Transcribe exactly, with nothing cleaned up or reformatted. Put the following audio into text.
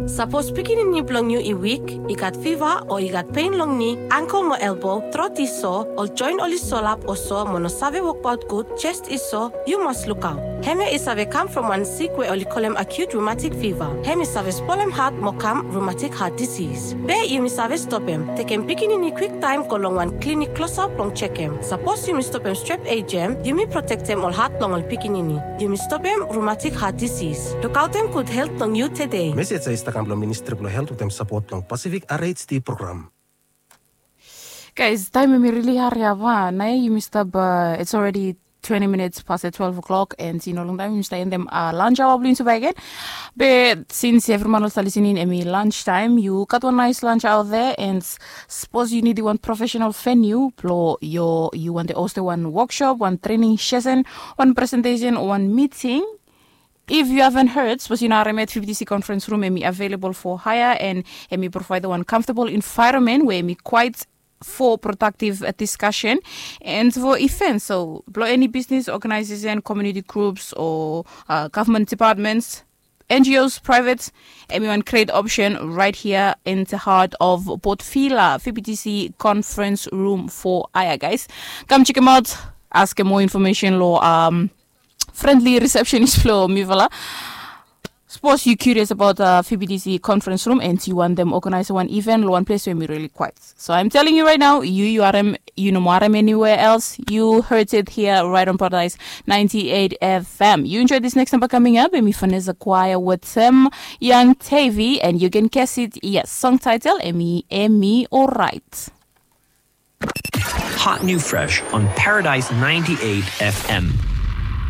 Sapos pikinini blong yu i wik, i gat fiva o i gat pen long ni, angkel mo elbo, trot i so, ol joen oli solap o so mo no save wokbaot gud, jes i so, yu mas lukaot. Hemia i save kam from wan sik we oli kolem acute rheumatic fever. Hem i save spolem hat mo kam rheumatic heart disease. Be yumi save stopem, tekem pikinini kwiktaem go long wan klinik klosap blong jekem. Sapos yumi stopem strep ejem, yumi protektem ol hat blong ol pikinini. Yumi stopem rheumatic heart disease. Lukaotem gud helt blong yu tede. Mesej ya i stap kam blong Ministri blong Helt wetem sapot blong Pacific R H D program. Guys, taem hemi rili hariap a, naoia yumi stap, it's already twenty minutes past the twelve o'clock, and i no longtaem yumi stap endem lunch hour blong yumi bakegen. Be since evri man oli stap lisening, hemi lunch taem, yu gat wan nice lunch out there, and sapos yu nidim wan professional venue blong yu, yu wantem hostem wan workshop, wan training session, wan presentation o wan meeting. If you haven't heard, sapos yu no harem yet, V B T C conference room hemi available for hire, and hemi provide wan comfortable environment we hemi quiet for productive discussion and for events. So blong eni business, organization, community groups o government departments, N G Os, private, hemi wan great option right here in the heart of Port Vila. V B T C conference room for hire, guys. Kam jekemaot, askem moa information long friendly receptionist blong mifala. Sapos yu curious abaot V B T C conference room and yu wantem organise wan event long wan ples we hemi rili quiet. So I'm telling you right now, yu yu harem, yu no mo harem anywhere else. You heard it here right on Paradise ninety-eight F M. You enjoy this next number coming up, hemi Vanessa Choir wetem Young Tavy, and you can guess it, yes, song title, hemi, hemi Alright. Hot new fresh on Paradise ninety-eight F M.